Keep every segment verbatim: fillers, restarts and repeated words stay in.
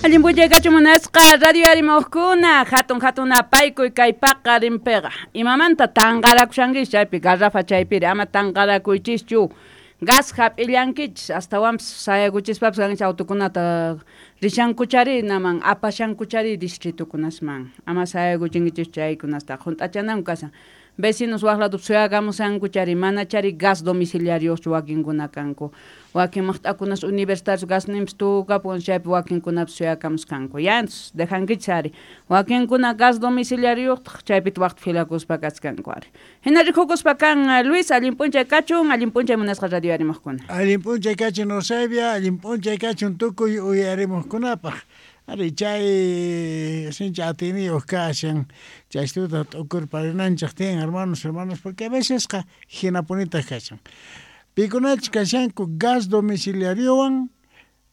Allin p'unchay kachun, munasqa radio arimuqkuna, hatun hatun apaykuy kay paqarinpiqa. Imamanta tanqarakushankichis chaypi garrafa chaypiri ama tanqarakuychischu. Gas hap'illankichis, astawanpis sayakuchispapas kankichis autokunata rishankuchari naman apashankuchari distritukunasman. Ama sayakuchinkichis chaykunasta hunt'achananku kashan. Vecinos waq lado suyakamushankuchari manachari gas domiciliariochu wakinkuna kanku. Wakin maqt'akunas universitarios gasninpis tukapun chaypi wakinkunapas suyakamusqanku. Ya, entonces dejankichis ari. Wakinkuna gas domiciliarioqtaq chaypita waqta filakuspa kachkanku ari. Hina rikukuspa kan Luis, allin p'unchay kachun, allin p'unchay munasqa radio arimuqkuna. Allin p'unchay kachun, Eusebia, allin p'unchay kachun tukuy uyarimuqkunapaq. Ari chay sinchi atiyniyuq kashan, chaystuta t'ukurparinanchik tiyan, hermanos, hermanos, porque a vecesqa hinapunitaq kashan. Pikunachus kashanku gas domiciliariowan,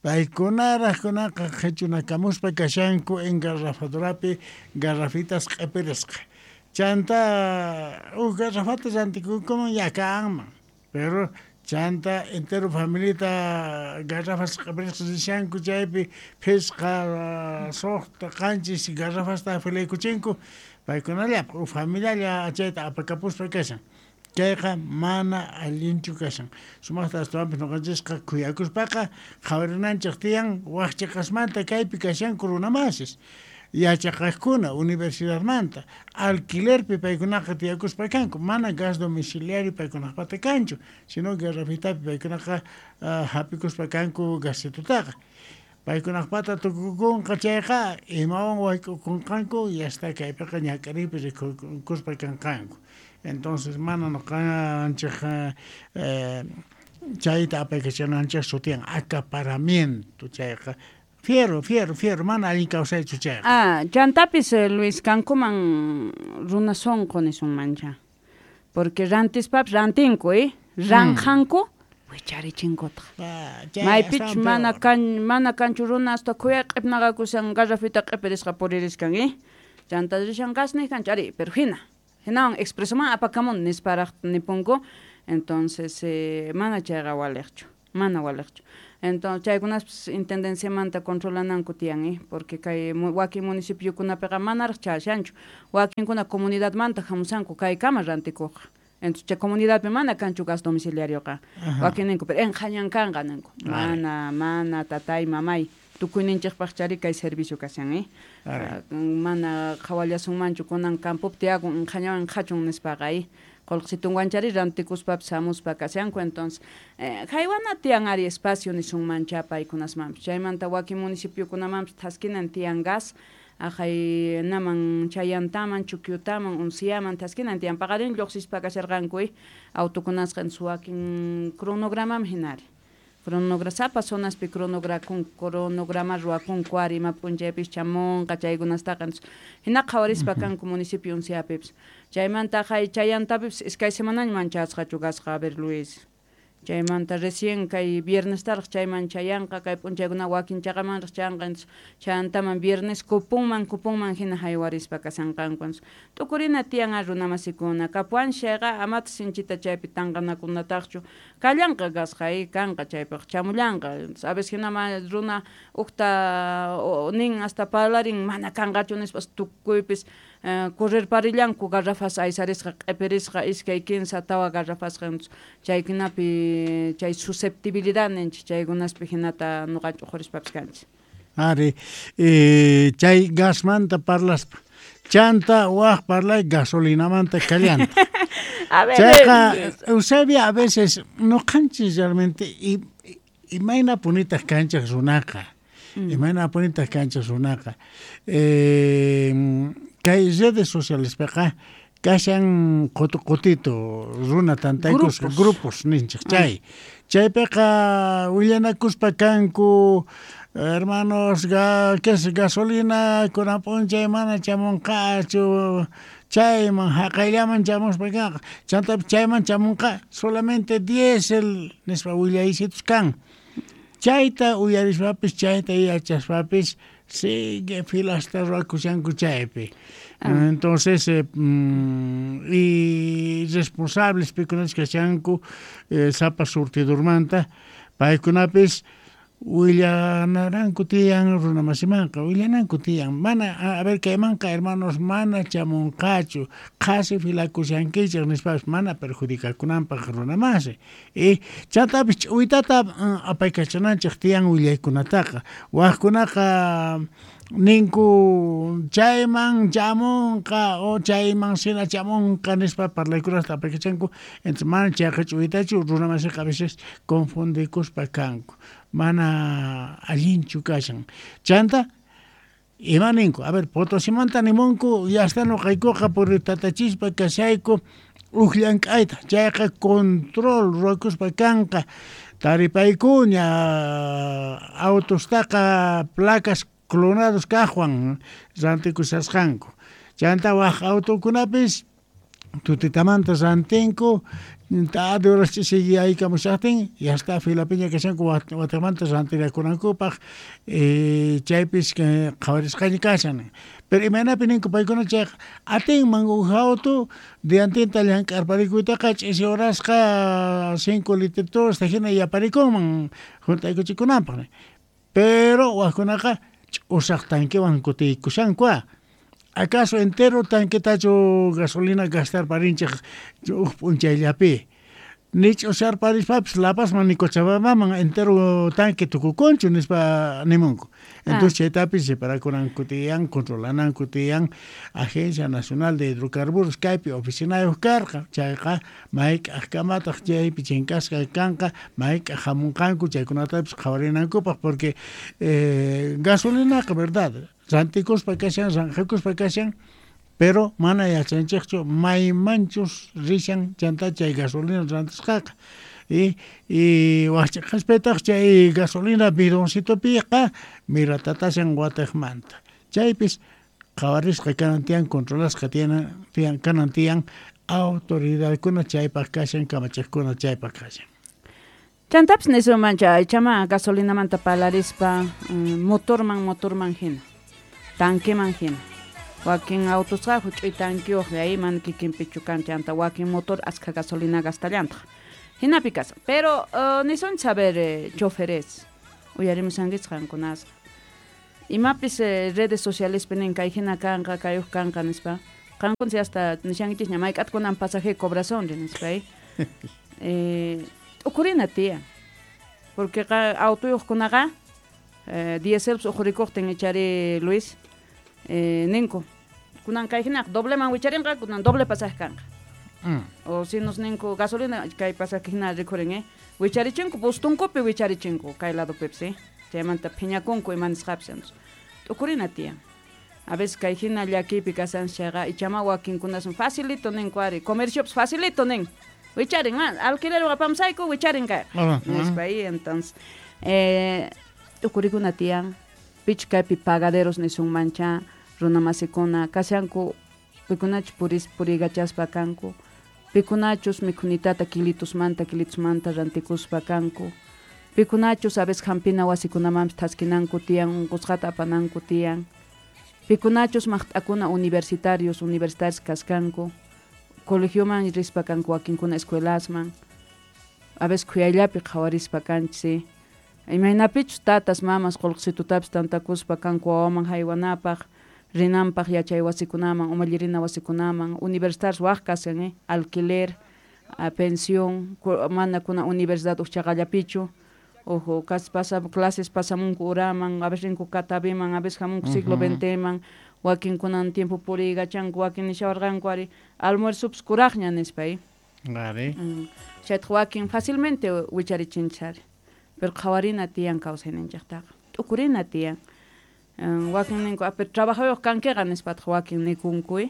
paykunaraq kunaqa qhichunakamuspa kashanku engarrafadorapi garrafitas q'ipirisqa. Chanta huk garrafata rantikunkuman ya kanman, pero chanta entero familita garrafas q'ipirisqa rishanku chaypi phisqa, suqta, qanchis garrafasta filaykuchinku paykunallapaq huk familialla chayta apakapuspa kashan. Chayqa mana allinchu kashan. Sumaqta astawanpis ñuqanchisqa khuyakuspaqa qhawarinanchik tiyan waqchiqasmanta kaypi kashanku runamasis. Yachaqaqkuna universidadmanta alquilerpi paykunaqa tiyakuspa kanku, mana gas domiciliario paykunaqpata kanchu, sino garrafitapi paykunaqa uh, hap'ikuspa kanku gasitutaqa. Paykunaqpata tukukunqa chayqa imawan wayk'ukunqanku y hasta kaypiqa ñak'ariypi rikukuspa kanqanku. Entonces mana ñuqanchik eh, chayta apaykachananchikchu tiyan acaparamiento chayqa. Fiero, fiero, fiero, mana allin kawsaychu chayqa. Ah, chantapis Luis kankuman runa sunqu nisunmancha. Porque rantispapis rantinku, eh? Ranqanku wicharichinkutaq. Ah, chay Maypichus astawan mana peor. kan mana kanchu runa hasta khuyay q'ipnaqakushan garrafita q'ipirisqa puririskan, eh? Chanta rishan gas niqanchu ari, pero hina. Hinawan expresoman apakamun nisparaq nipunku. Entonces, eh, mana chayqa waliqchu, mana waliqchu. Entonces, chaykunaspis intendenciamanta controlananku tiyan, eh? Porque kay wakin municipiokunapiqa manaraq chashanchu. Wakinkuna comunidadmanta hamusanku kaykama rantikuqqa. Entonces, chay comunidadpi mana kanchu gas domiciliarioqa. Wakin ninku, pero enqhañan kanqa ninku. Mana, mana tatay, mamay. Tukuyninchikpaq chari kay servicio kashan, eh? Uh, mana qhawallasunmanchu kunan campopi tiyakun enqhañawan enqhachun nispaqa, eh? Qullqisitunwanchari rantikuspapis hamuspa kashanku. Entonces, eh, haywana tiyan ari espacio nisunmancha paykunasmanpis. Chaymanta wakin municipiokunamanpis thaskinan tiyan gas, aqhay naman chayantaman, chukyutaman, unciaman thaskinan tiyan. Paqarin lluqsispa kasharqanku, eh? Autokunasqa entonces wakin cronogramaman hinari. Cronogra sapa zonaspi cronograkun cronograma ruwakunku ari ima p'unchaypis chamunqa chaykunastaqa. Entonces hina qhawarispa kanku municipio unciapipis. Chaymanta hay chayantapipis iskay semanaña chasqachu gasqa, a ver, Luis. Chaymanta recién kay viernestaraq chayman chayanqa, kay p'unchaykuna wakin chaqamanraq chayanqa. Entonces chayantaman viernes kupunman kupunman hina haywarispa kashanqanku. Entonces t'ukurina tiyan a runamasikuna kapuwan chayqa amata sinchita chaypi tanqanakunataqchu kallanqa gasqa, eh, kanqa chaypaq chamullanqa. Entonces a veces hina runa ukta nin hasta parlarin mana kanqachu nispas tukuypis eh, correrparillanku garrafas aysarisqa q'ipirisqa iskay kinsa tawa garrafasqa. Entonces chaykunapi chay susceptibilidad ninchik chaykunaspi hinata ñuqanchik uqhurispapis kanchik. Ari, eh, chay gasmanta parlaspa. Chanta waq parlay gasolinamanta kallanta. A ver, Chayqa eh, Eusebia a veces ñuqanchis realmente y imayna punitaq kanchik runaqa. Mm. Imayna punitaq kanchik runaqa. Eh, kay redes socialespiqa kashan qutu qutito runa tantaykusqa Grupos. grupos ninchik chay. Chaypiqa willanakuspa kanku hermanos ga, que es gasolina kunan p'unchay mana chamunqachu chayman haqayllaman chamuspa kanqa. Chantapis chayman chamunqa solamente diésel nispa willaysitus kan. Chayta uyarispapis chayta yachaspapis sigue filasta ruwakushanku chaypi. Ah. Entonces, eh, mm, y responsables pikunachus kashanku eh, sapa surtidurmanta paykunapis Willanaranku tiyan runamasimanqa, willananku tiyan, mana, a ver, kaymanqa hermanos mana chamunqachu, qhasi filakushankichik nispapis mana perjudicakunanpaq runamasi. Y chantapis ch'uwitata apaykachananchik tiyan willaykunataqa, waqkunaqa ninku chayman chamunqa o chayman sina chamunqa nispa parlaykunata apaykachanku, entonces mana chayqa ch'uwitachu runamasiqa a veces confundikuspa kanku. Mana allinchu kashan. Chanta, ima ninku, a ver, Potosimanta nimunku, ya está nuqaykuqa puritatachispa kashayku uj llank'ayta, chayqa control ruwakuspa kanqa, taripaykuña autostaqa placas clonados kaqwan rantikushasqanku. Chanta waq autokunapis tutitamanta rantinku, tarde horas ch'isiyaykamushaqtin, ya está filapiña kashanku watimanta rantirakunankupaq, eh, chaypis qhawarisqaña kashan. Pero imaynapi ninku paykuna chayqa atinman uj auto diantinta llank'arparikuytaqa ch'isi horasqa cinco litros hina yaparikunman juntaykuchikunanpaq. Pero waqkunaqa ch'usaq tanquewan kutiykushanku. ¿Acaso entero tanquetachu gasolina gastar parinchik uj p'unchayllapi? Ni ch'usarparispapis La Pazman ni Cochabambaman entero tanque tukukunchu nispa nimunku. Entonces ah. chaytapis separakunanku tiyan, controlananku tiyan Agencia Nacional de Hidrocarburos kaypi oficinayuq karqa, chayqa mayk'aqkamataq chaypi chinkasqa kanqa, mayk'aq hamunqanku chaykunatapis qhawarinankupaq, porque eh, gasolinaqa verdad, rantikuspa kashan, ranjakuspa kashan, pero mana yachanchikchu maymanchus rishan chanta chay gasolina rantisqaqa. Y, y waqchiqaspitaq chay gasolina bidoncitopiqa miratatashan watiqmanta. Chaypis qhawarisqa kanan tiyan, controlasqa tiyan, tiyan kanan tiyan autoridadkuna chaypaq kashan, kamachiqkuna chaypaq kashan. Chantapis nisunman chay chama gasolinamanta parlarispa motorman motorman hina, tanqueman hina. Wakin autosqa huch'uy tanqueyuq ahí mana kikinpichu kan, chanta wakin motor askha gasolina gastallantaq. Hinapi kashan. Pero uh, nisun saber eh, choferes uyarimusankichik qankunasqa. Imapis eh, redes sociales nin kay hina kanqa, kayuq kanqa nispa. Qankun hasta nishankichikña mayk'at kunan pasaje cobrason nispa. Eh, eh t'ukurina tiyan. Porque autoyuqkunaqa eh, dieselpis uqurikuqtin ichari Luis eh, ninku kunan kay hinaqa dobleman wicharinqa, kunan doble pasaje kanqa. Mm. O si nos ninku gasolina kay pasaje hina rikhurin, eh? Wicharichinko bustunkupi wicharichinko kay ladopipis, eh? Chaymanta phiñakunku ima nisqapis. T'ukurina tiyan. A veces kay hina llakiypi kashan chayqa ichama wakinkunasun facilito ninku ari, comerciopis facilito nin. Wicharin, man, alquiler apamsayku wicharin kayqa. Uh -huh. Nispa ahí, entonces eh, t'ukurikuna tiyan, pich kaypi pagaderos nisunmancha, runamasikuna, kashanku pikunachus puris purigachaspa kanku, pikunachus mikhunitata kilitusmanta kilitusmanta rantikuspa kanku, pikunachus a veces hampina wasikunamanpis thaskinanku tiyan, unqusqata apananku tiyan, pikunachus maqt'akuna universitarios, universitarios kaskanku, colegioman rispa kanku wakinkuna escuelasman, a veces khuyayllapi qhawarispa kanchis, imaynapichus tatas mamas qullqisitutapis tantakuspa kanku wawaman haywanapaq, rinanpaq yachay wasikunaman, umallirina wasikunaman, universitarios waq kashan, eh? Alquiler, a pensión, mana kuna universidad uj chaqallapichu, ojo, kas pasa clases pasamunku uraman, a veces rinku Cataviman, a veces hamunku siglo veinteman, wakin kunan tiempo puriykachanku, wakin nishawarqanku ari almuerzopis kuraqña nispa, eh? Ari. Mm. Chaytaq wakin fácilmente wicharichinchis ari. Pero qhawarina tiyan kawsayninchiktaqa, t'ukurina tiyan. Um, wakin ninku, a pero trabajayuq kankiqa nispataq wakin nikunku, eh?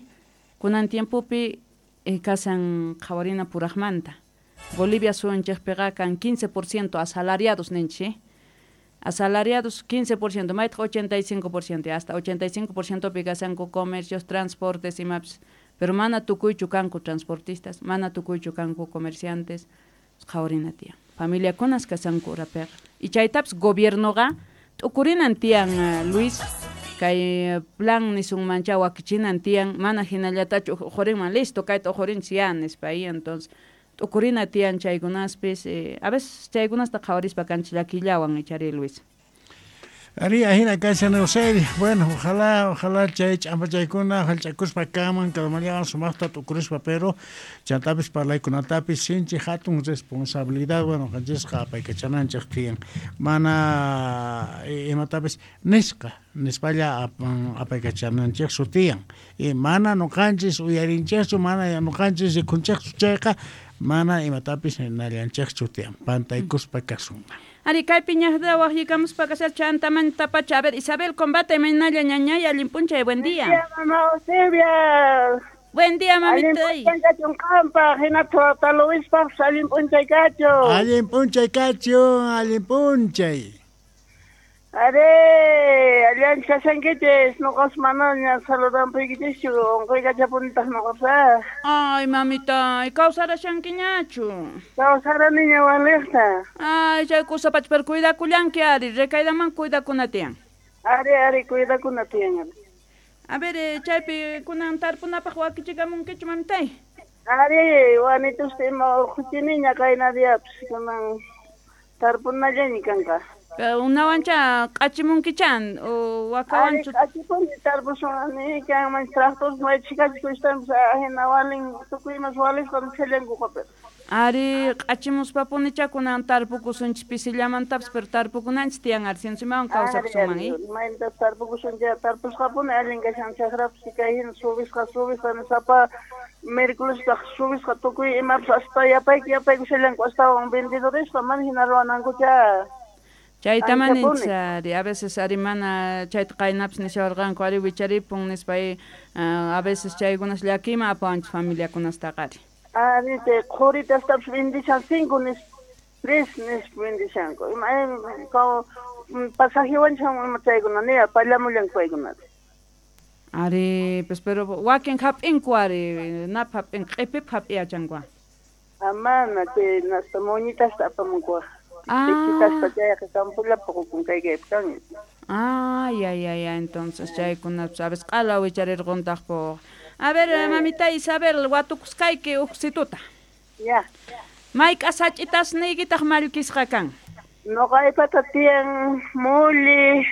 Kunan tiempopi eh, kashan qhawarina puraqmanta. Bolivia suyunchikpiqa kan quince por ciento asalariados ninchik, eh? Asalariados quince por ciento, maytaq ochenta y cinco por ciento, hasta ochenta y cinco por ciento pi kashanku comercios, transportes imapis. Pero mana tukuychu kanku transportistas, mana tukuychu kanku comerciantes, qhawarina tiyan. Familiakunas kashanku urapiqa. Y chaytapis gobiernoqa t'ukurinan tiyan, uh, Luis, kay plan nisunmancha wakichinan tiyan, mana hinallatachu uqhurinman, listo, kayta uqhurinchis ya nispa, ahí, entonces T'ukurina tiyan chaykunaspis, eh, a veces chaykunasta qhawarispa kanchis llakillawan ichari Luis. Ari, ahina kashan Eusebio. Bueno, ojalá, ojalá chay ch'ampachaykuna hallch'akuspa kanman kalmallawan sumaqta t'ukurispa, pero chantapis parlaykunatapis sinchi hatun responsabilidad, bueno, qanchisqa apaykachananchik tiyan. Mana imatapis nisqa, nispalla apaykachananchikchu tiyan. Y mana nuqanchis uyarinchikchu, mana nuqanchis rikunchikchu chayqa, mana imatapis nallanchikchu tiyan. Pantaykuspa kasunman. Ari, kaypi ñaqda waqyikamuspa kasar chantamanta pacha. A ver, Isabel Combate, maynalla ñañay, allin p'unchay, buen día. Buen día, mamá Eusebia. Buen día, mamita. Allin p'unchay kachun qanpaq, hinataq tata Luispaqpas allin p'unchay kachun. Allin p'unchay kachun, allin p'unchay. Ari, allancha kashankichis, nuqas manaña saludanpuykichischu, unquykachapunitaq nuqapaq. Ay, mamita, kawsarashankiñachu? Kawsaraniña waliqta. Ay, chay kusapach, pero cuidakullanki ari, recaídaman cuidakuna tiyan. Ari, ari, cuidakuna tiyan. A ver, eh, chaypi kunan tarpunapaq wakichikamunkichu, mamitay? Ari, wanitusta ima urquchiniña qayna diapis, kunan tarpunallaña kanqa. Unawancha q'achimunkichan o wakawanchu? Q'achipuni tarpusun kanman tractor may chhikachi kushtanpas hina walin tukuy imas walisqa nishallankuqa pero. Ari, q'achimuspapunicha kunan tarpukusunchis pisillamantapis, pero tarpukunanchis tiyan ari sinchimawan kawsakusunman, eh? Mayta tarpukusuncha tarpusqapuni allin kashan chakrapis kay hina subisqa subisqa sapa miércolestaq subisqa tukuy imapas hasta yapayku yapaykushallanku astawan vendedoresqa mana hina ruwanankucha. Chayta maninchis ari, a veces ari mana chayta qaynapis nishawarqanku ari wicharipun nispa a veces chaykunas llakiyman apawanchis familiakunastaqa ari. Ari, chay qhuritastapis vendishan cinco nispa, tres nispa vendishanku. Ima pasajewanchis ima chaykuna niya pallamullanku paykunata. Ari, pues pero wakin hap'inku ari, nap hap'in, q'ipip hap'iyachanku. Amana, chay nasta moñitasta apamunku. Ah. Ah, ya, ya, ya, entonces chaykuna, sabes, q'ala wicharirquntaq po. A ver, mamita Isabel, watukusqayki uqsituta. Ya. Mayk'a sach'itasniykitaq mallkisqa kan? Nuqaypata tiyan muli,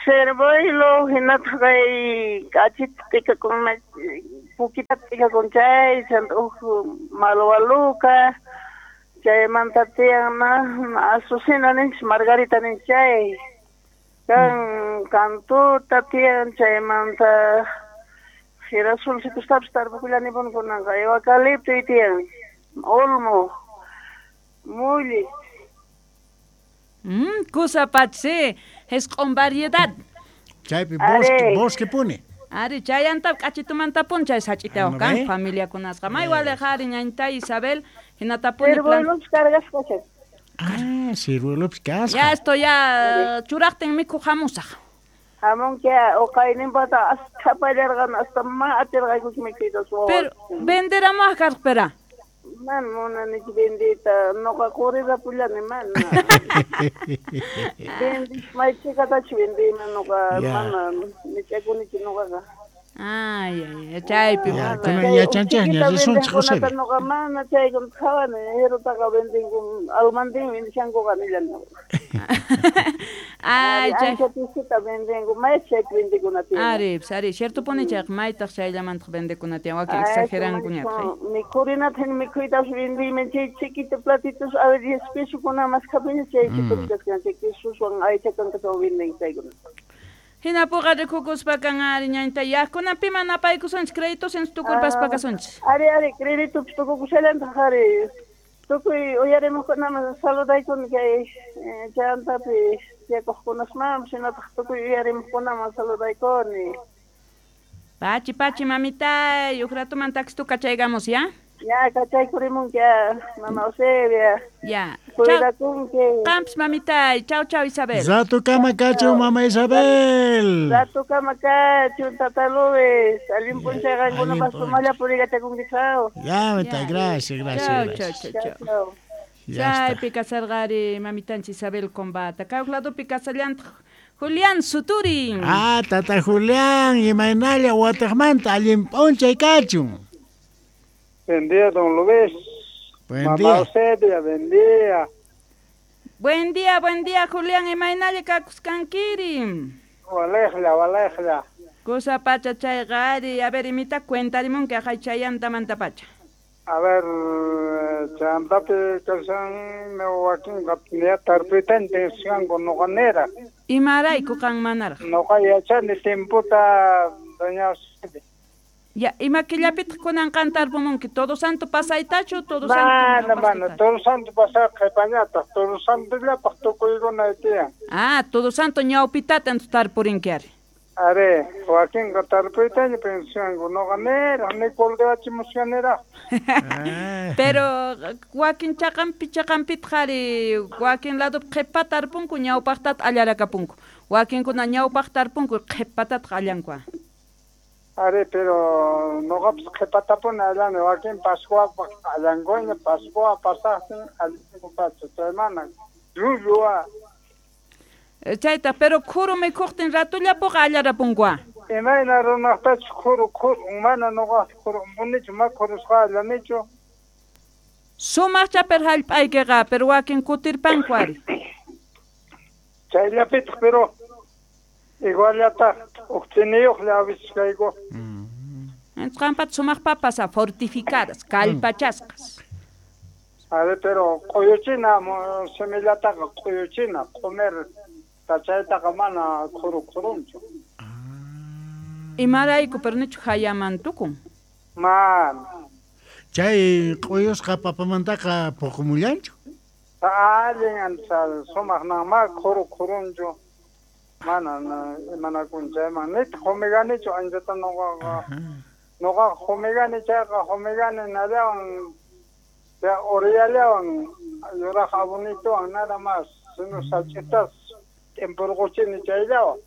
cervoilo, hinataq kay k'achita t'ikakun, pukita t'ikakun chay, chanta huk malwaluka. Chaymanta tiyan na azucena ninchis, margarita ninchis chay. Kan kantuta tiyan, chaymanta girasolcitostapis tarpukullanipuni kunanqa, eucalipto tiyan, olmo, mulli. Mm, kusapach, sí, hesq'un variedad. Chaypi bosque, bosque puni. Ari, chayanta k'achitumantapuni chay sach'itawaq kan familiakunasqa. May waliq ari ñañta Isabel, hinatapuni Ciruelopis cargasqa chay. Ah, ciruelopis kasqa. Ya esto ya churaqtin mikhuq hamusaq. Hamunki uqayninpata hasta pallarqan hasta ma atirqaykuchu mikhuyta suwa. Pero venderamuaq karqa pera. Mana munanichu vendiyta, nuqa qurirapullani mana. Vendish may chhikatachu vendiyman nuqa mana mich'akunichu nuqaqa. Ay, ay, chaypi. Kunan yachanchikña risunchik José. Nuqa mana chaykuna qhawani, hirutaqa vendinku, almandin vendishankuqa nillani. Ay, chay. Ancha pisita vendinku, may chaypi vendikuna tiyan. Ari, ari, ciertopuni chayqa maytaq chayllamantaq vendikuna tiyan, wakin exagerankuñataq. Mikhurinata mikhuytapas vendiyman chay chiquito platitos a ver diez pesokuna maskhapiña chay chiquitos kashan, chay quesoswan aycha kankatawan vendin chaykuna. Hinapuqa rikukuspa kan ari ñañta yaqkuna piman apaykusunchis créditos en tukurpaspa kasunchis. Ari, ari, créditopis tukukushallantaq ari. Tukuy uyarimuqkunaman saludaykuni kay chayantapi tiyakuqkunasmanpas hinataq tukuy uyarimuqkunaman saludaykuni. Pachi, pachi, mamitay, huk ratuman taxi kachaygamos, ¿ya? Ya, kachaykurimunki, mama Eusebia. Ya. Cuidakunki. Qampis, mamitay. Chau, chau, Isabel. Ratukama kachun, mama Isabel. Ratukama kachun, tata Luis. Allin p'unchay qankunapas sumaqlla puriykachakunki, chau. Ya, mamita, gracias, gracias. Chau, chau, chau, chau. Chaypi kasarqari mamitanchik Isabel Combata. Kay huk ladopi kasallantaq Julián Suturin. Ah, tata Julián, imaynalla watiqmanta allin p'unchay kachun. Buen día, don Luis. Buen Mamá día. Eusebia, buen día. Buen día, buen día, Julián. Imaynalla kakusqankiri. Walejla, walejla. Kusa pacha chayqa ari. A ver, imita cuentarimunki aqhay chayantamanta pacha. A ver, chantapi kashan wakinqa ya tarpuytanta nisqanku nuqa niraq. Imarayku qan manaraq? Nuqa yachani timputa doña Eusebia. Ya, ima killapitaq kunan qan tarpumunki? Todo Santo pasaytachu, Todo Santo Mana, mana, ñawpaqtitachu? Todo Santo pasaq qhipañataq, Todo Santollapaq tukuykuna tiyan. Ah, Todo Santo ñawpitata entonces tarpurinki ari. Are, wakinqa tarpuytaña pensasqanku, nuqa niraq, ni kultivachimusqa niraq. Ah. Pero wakin chaqanpi chaqanpitaq ari, wakin ladopi qhipa tarpunku, ñawpaqtataq allarakapunku. Wakinkuna ñawpaq tarpunku, qhipatataq allanku. Are, pero nuqapas qhipatapuni allani, wakin Pascuapaq allankuña, Pascua pasaqtin allanku pacha, chay mana llullu. Chayta, pero khuru mikhuqtin ratullapuqa allarapunku. Imayna runaqtachus khuru khuru, mana nuqaq khurunpunichu, ma khurusqa allanichu. Sumaqcha pero hallp'aykiqa, pero wakin kutirpanku ari. Chayllapitaq, pero iguallataq uqtiniyuqlla a veces kayku. Entonces qanpata sumaq papas fortificadas, kallpachasqas. Are, pero q'uyuchina semillataqa q'uyuchina, q'umir chaytaqa mana khuru khurunchu. Imarayku, pero nichu hayaman tukun? Mana. Chay q'uyusqa papamantaqa puqumullanchu? Allin ancha sumaq ma khuru khurunchu. Mana imanakun chayman nitaq humiganichu anchata nuqaqa. Nuqaqa humigani chayqa humigani nallawan uriyallawan yuraq abonitowan nada más, sino sach'itas t'impuruquchini chayllawan.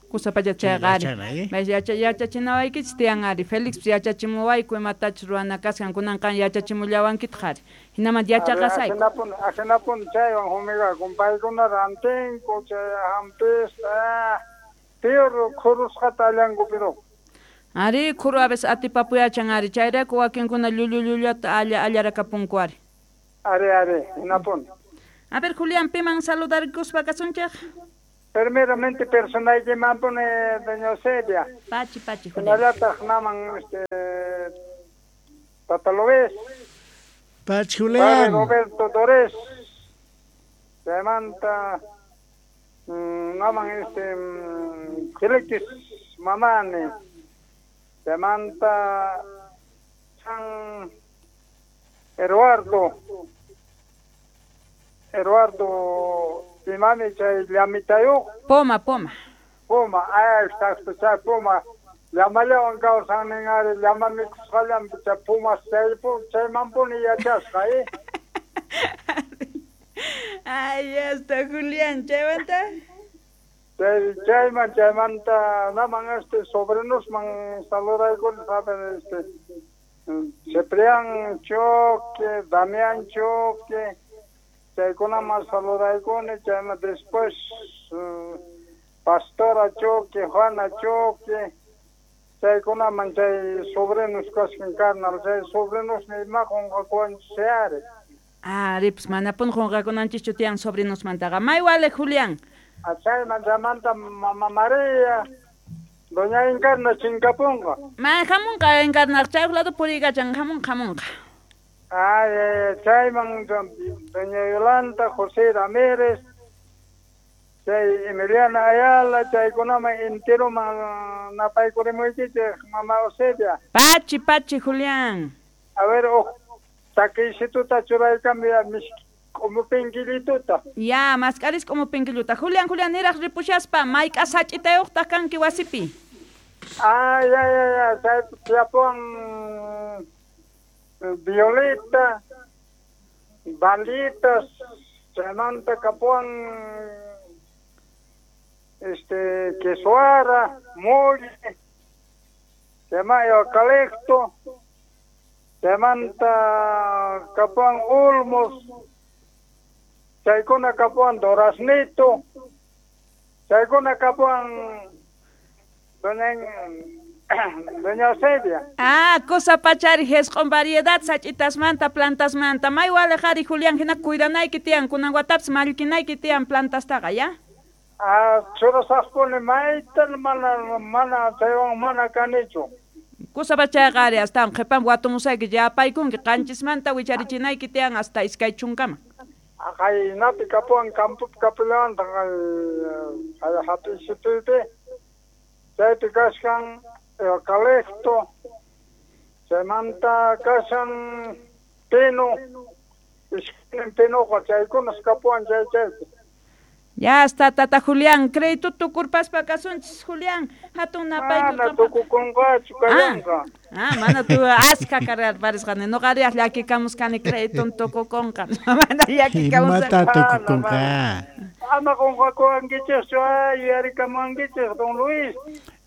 Kusa pacha chayqa ari. Mas yacha yachachinawaykichis tiyan ari. Felix yachachimuwayku imatachus ruwana kasqan kunan qan yachachimullawankitaq ari. Hinamanta yachaqasayku. Ajinapuni ajinapuni chaywan humigakun paykuna rantinku chay hampista peor khurusqata allanku pero. Ari khuru a veces atipapuyachan ari chayrayku wakinkuna llullu llullata alla allarakapunku ari. Ari ari hinapuni. A ver Julián, piman saludarkuspa kasunchik? Primeramente personaykimanpuni doña Eusebia. Pachi pachi Julián. Hinallataq naman este Tata Lobés. Pachi Julián. Padre Roberto Torres. Chaymanta naman este Felix Mamani. Chaymanta San Eduardo. Eduardo imami chay llamitayuq. Poma, poma. Poma, ay, exacto, chay poma. Llamallawan kawsannin ari, llama mikhusqallanpi chay pumas chay chaymanpuni yachasqa, eh. Ay, ya está, Julián, chaymanta. Chay chayman chaymanta naman este sobrinosman saludaykuni, saben, este Ciprián Choque, Damián Choque, chaykunaman saludaykuni, chayman después uh, Pastora Choque, Juana Choque, chaykunaman chay sobrinos kasqan carnal, chay sobrinosmi ima qunqakuwanchis ari. Ari, pues manapuni qunqakunanchischu tiyan sobrinosmantaqa. May wale, Julián. Chayman chaymanta Mama María, Doña Encarna chinkapunqa. Ma hamunqa Encarna, chay lado puriykachan, hamunqa, hamunqa. Ay, chayman Doña Yolanda, José Ramírez, chay Emiliana Ayala, chaykunaman enteroman napaykurimuykichik, Mama Eusebia. Pachi, pachi, Julián. A ver, oh, takisituta churaykambi miski k'umupinkillituta. Ya, mask'aris k'umupinkilluta. Julián, Julián, niraq ripushaspa, mayk'a sach'itayuqtaq kanki wasipi? Ay, ay, ay, ay, chay tiyapuwan violeta, balitas, chaymanta kapuwan este quesuara, molle, chayman eucalipto, chaymanta kapuwan olmos, chaykuna kapuwan duraznito, chaykuna kapuwan doña Doña Eusebia. Ah, cosa pachari con variedad sach'itasmanta plantasmanta. May walejari Julián hina cuidanayki tiyan kunan watapas mallkinayki tiyan plantastaqa, ya? Ah, churasaqpuni maytan mana mana chaywan mana kanichu. Kusa pachayqa ari astawan qhipan watumusayki yapaykunki qanchismanta wicharichinayki tiyan hasta iskay chunkama. Qaynapi kapuwan campopi kapillawantaq kay hap'isitupi chaypi kashkan eucalipto, chaymanta kashan pino, iskaynin pinoqa chaykunas kapuwan chay chaypi. Ya está, tata Julián, crédito tukurpaspa kasunchis, Julián, hatun napayku. Mana tukukunqachu kallanqa. Ah, mana tu aska cargarparisqani, noqari llakikamusqani crédito tukukunqa. Mana llakikamusqani. Imata tukukunqa. Ama qunqakuwankichikchu, yuyarikamuwankichik, don Luis.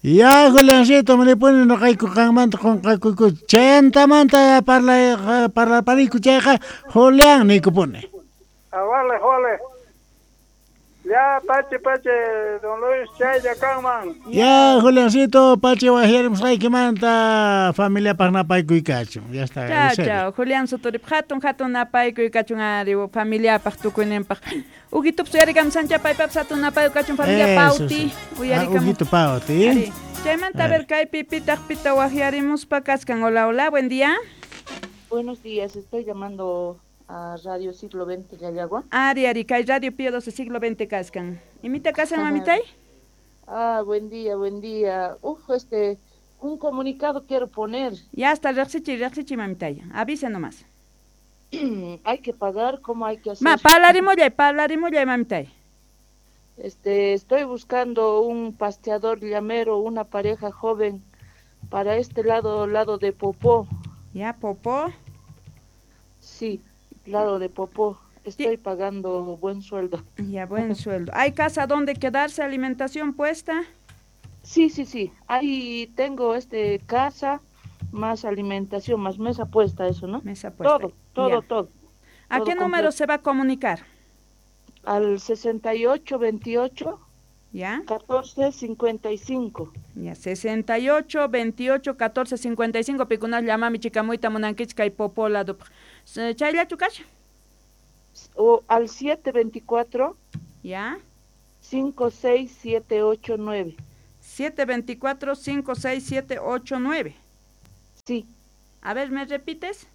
Ya, Juliancito, manipuni noqayku qanmanta qunqakuyku. Chayantamanta parla parlapariku chayqa Julián niykupuni. Ah, vale, vale. Ya, pache, pache, don Luis, chaylla kanman. Ya, Juliancito, pache wajyarimusqaykimanta familiapaq napaykuykachun. Ya está. Chao, chao, Julián Sotorip, hatun, hatun napaykuykachun ari familiapaq tukuyninpaq. Ujitup uyarikamusancha paypapas hatun napaykachun familia Pauti. Uyarikamu. Ujito Pauti. Ari. Chaymanta a ver kaypi pitaq pita wajyarimuspa kaskan. Hola, hola, buen día. Buenos días, estoy llamando a Radio Siglo veinte Llallagua. Ari, ari, kay Radio Pío doce Siglo veinte kaskan. ¿Imita kasan, mamitay? Ah, buen día, buen día. Uf, este, un comunicado quiero poner. Ya está, riqsichi, riqsichi, mamitay. Avisa nomás. Hay que pagar, ¿cómo hay que hacer? Ma, parlarimullay, parlarimullay, mamitay. Este, estoy buscando un pasteador llamero, una pareja joven para este lado, lado de Popó. Ya, Popó. Sí. Lado de Popó, estoy pagando buen sueldo. Ya, buen sueldo. ¿Hay casa donde quedarse, alimentación puesta? Sí, sí, sí. Ahí tengo este casa, más alimentación, más mesa puesta, eso, ¿no? Mesa puesta. Todo, todo, ya. todo. ¿A todo qué completo. Número se va a comunicar? Al sesenta y ocho veintiocho. ¿Ya? catorce cincuenta y cinco. Ya, sesenta y ocho, veintiocho, catorce cincuenta y cinco, pikunas llamami chikamuita munankichik kay Popó lado. ¿Chayllachu kasha? O al siete veinticuatro. ¿Ya? cinco seis siete ocho nueve. siete veinticuatro, cinco seis siete ocho nueve. Sí. A ver, ¿me repites?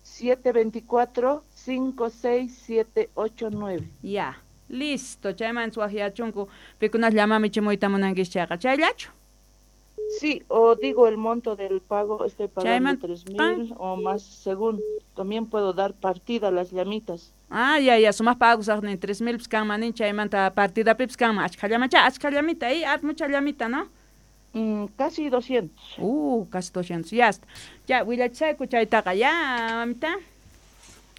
siete veinticuatro, cinco seis siete ocho nueve. Ya. Listo, chayman suajyachunku pikunas llamami chimuyta munankichik chayqa. ¿Chayllachu? Sí, o digo el monto del pago, estoy pagando tres mil o más según. También puedo dar partida a las llamitas. Ah, ya, ya, sumas pagos ni tres mil pskanmanin chaymanta partida pipskanma achkallamacha, achkallamita, ahí, haz mucha llamita, ¿no? Mm, casi doscientos. Uh, casi doscientos, ya está. Ya, willachayku chaytaqa, ya, mamita.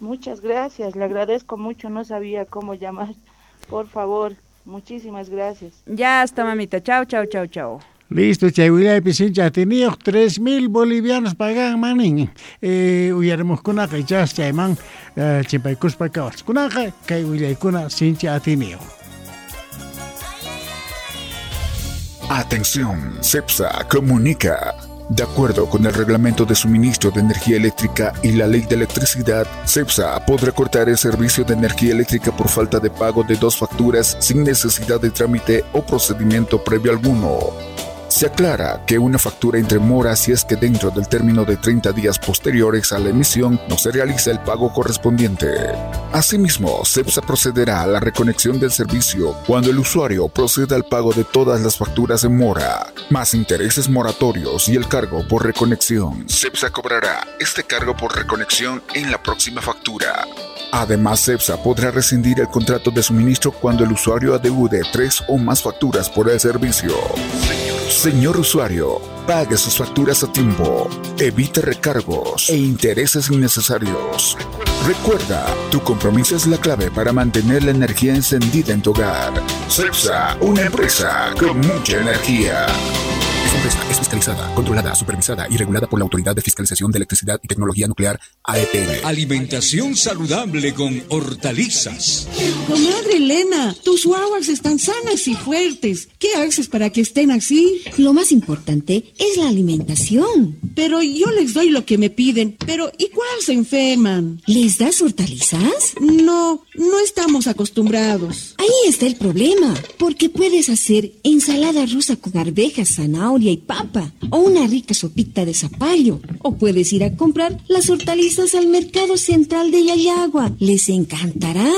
Muchas gracias, le agradezco mucho, no sabía cómo llamar. Por favor, muchísimas gracias. Ya está, mamita. Chao, chao, chao, chao. Listo, chay willaypi sincha atiniyuq tres mil bolivianos pagan manin. Eh, uyarimuqkunaqa ichas chayman eh, chimpaykuspa kawach. Kunaqa kay willaykuna sincha atiniyuq. Atención, CEPSA comunica. De acuerdo con el Reglamento de Suministro de Energía Eléctrica y la Ley de Electricidad, CEPSA podrá cortar el servicio de energía eléctrica por falta de pago de dos facturas sin necesidad de trámite o procedimiento previo alguno. Se aclara que una factura entre mora si es que dentro del término de treinta días posteriores a la emisión no se realiza el pago correspondiente. Asimismo, CEPSA procederá a la reconexión del servicio cuando el usuario proceda al pago de todas las facturas en mora, más intereses moratorios y el cargo por reconexión. CEPSA cobrará este cargo por reconexión en la próxima factura. Además, CEPSA podrá rescindir el contrato de suministro cuando el usuario adeude tres o más facturas por el servicio. Señor usuario, pague sus facturas a tiempo, evite recargos e intereses innecesarios. Recuerda, tu compromiso es la clave para mantener la energía encendida en tu hogar. CEPSA, una empresa con mucha energía. Esta empresa es fiscalizada, controlada, supervisada y regulada por la Autoridad de Fiscalización de Electricidad y Tecnología Nuclear, A E T N. Alimentación saludable con hortalizas. Comadre Elena, tus guaguas están sanas y fuertes. ¿Qué haces para que estén así? Lo más importante es la alimentación. Pero yo les doy lo que me piden, pero igual se enferman. ¿Les das hortalizas? No, no estamos acostumbrados. Ahí está el problema, porque puedes hacer ensalada rusa con arvejas, zanahoria y papa, o una rica sopita de zapallo, o puedes ir a comprar las hortalizas al mercado central de Llallagua. Les encantará.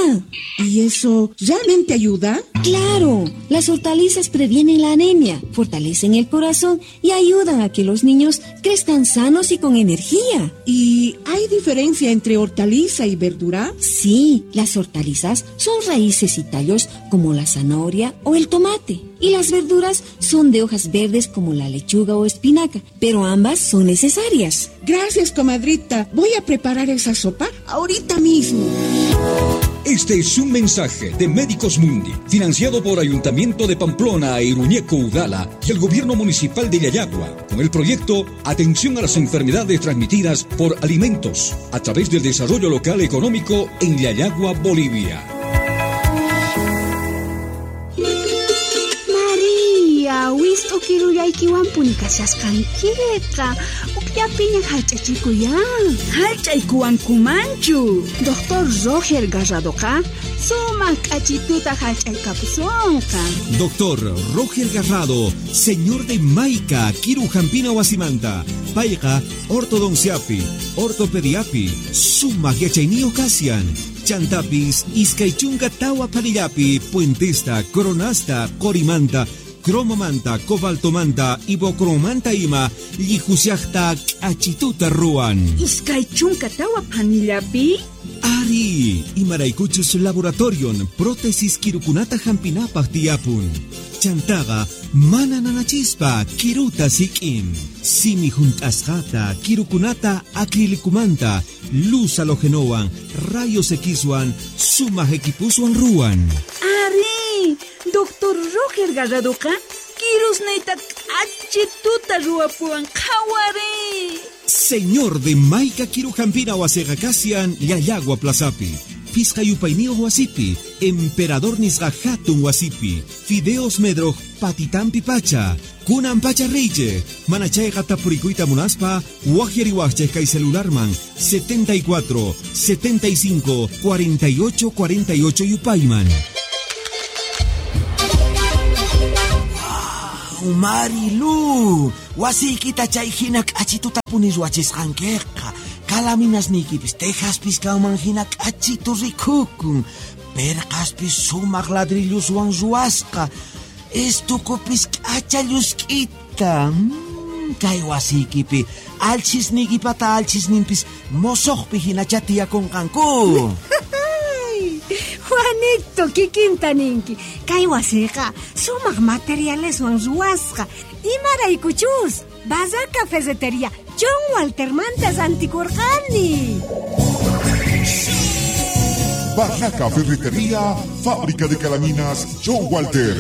¿Y eso realmente ayuda? ¡Claro! Las hortalizas previenen la anemia, fortalecen el corazón y ayudan a que los niños crezcan sanos y con energía. ¿Y hay diferencia entre hortaliza y verdura? Sí, las hortalizas son raíces y tallos como la zanahoria o el tomate. Y las verduras son de hojas verdes como la lechuga o espinaca, pero ambas son necesarias. Gracias, comadrita. Voy a preparar esa sopa ahorita mismo. Este es un mensaje de Médicos Mundi, financiado por Ayuntamiento de Pamplona e Iruñeco Udala y el Gobierno Municipal de Llallagua, con el proyecto Atención a las Enfermedades Transmitidas por Alimentos, a través del Desarrollo Local Económico en Llallagua, Bolivia. María, wist'ukirullaykiwanpuni kashasqankiqa. Ukllapiña hallch'achikuyan. Hallch'aykuwankumanchu. Doctor Roger Garradoqa sumaq k'achituta hallch'aykapusunqa. Doctor Roger Garrado, señor de Maica, Kiru Jampina Wasimanta, Payqa, ortodonciapi, ortopediapi, sumaq yachayniyuq kasian. Chantapis, iskaychunka tawa panillapi, puentesta, coronasta, corimanta, cromomanta, cobaltomanta, ibocromanta ima, llihusiaqta k'achituta ruwan. Iskaychunka tawa panillapi? Ari, imaraykuchus laboratorion, prótesis kirukunata hampinapaq tiyapun. Chantaqa, mana nanachispa, kiruta sik'in. Simi junt'asqata, kirukunata acrilicumanta, luz halogenowan, rayos Xwan, sumaq equipuswan ruwan. Ari, Doctor Roger Garradoqa, kirusniyta k'achituta ruwapuwan qhawari. Señor de Maica Kirujampina wasiqa kasian Llallagua Plazapi, Pisqa yupayniyuq wasipi, Emperador nisqa hatun wasipi, Fideos Medroj patitampi pacha, kunan pacha reyche, manachayqa tapurikuyta munaspa, waqyariwaqchik kay celularman setenta y cuatro, setenta y cinco, cuarenta y ocho, cuarenta y ocho yupayman. Marilu, wasiykita chay hina k'achituta puni ruwachisqankiqa. Kalaminasniykipis tejaspis kanman hina k'achitu rikukun. Perqaspis sumaq ladrilluswan ruwasqa. Estukupis k'acha llusk'ita. Mm, kay wasiykipi alchisniykipata alchisninpis mosoqpi hinacha tiyakunqanku. Juanito, kikinta ninki. Kay wasiqa sumaq materialeswan ruwasqa. Imaraykuchus, Barraca Ferretería John Waltermanta rantikurqani. Barraca Ferretería, fábrica de calaminas John Walter.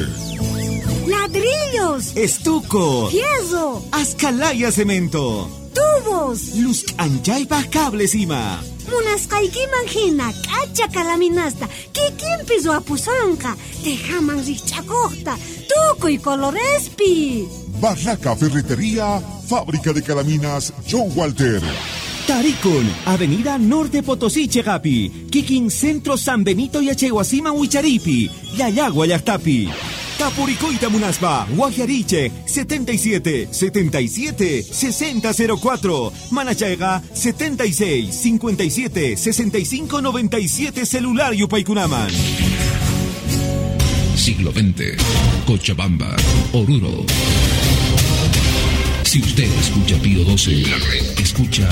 Ladrillos, estuco, fierro, ascalaya cemento, tubos, luz anchaypaq cables ima. Munasqaykiman hina k'acha kalaminasta kikinpi ruwapusunqa, tejaman rikch'akuqta, tukuy colorespi. Barraca Ferretería, fábrica de calaminas John Walter. Tarikun, Avenida Norte Potosí, Chegapi, Kikin Centro San Benito y Achehuasima Huicharipi, Llallagua Llaqtapi. Tapuricoita Munaspa, Guajariche, setenta y siete, setenta y siete, sesenta cero cuatro, Manachaiga, setenta y seis, cincuenta y siete, sesenta y cinco, noventa y siete, celular Yupaykunaman. Siglo veinte, Cochabamba, Oruro. Si usted escucha Pío doce, la red escucha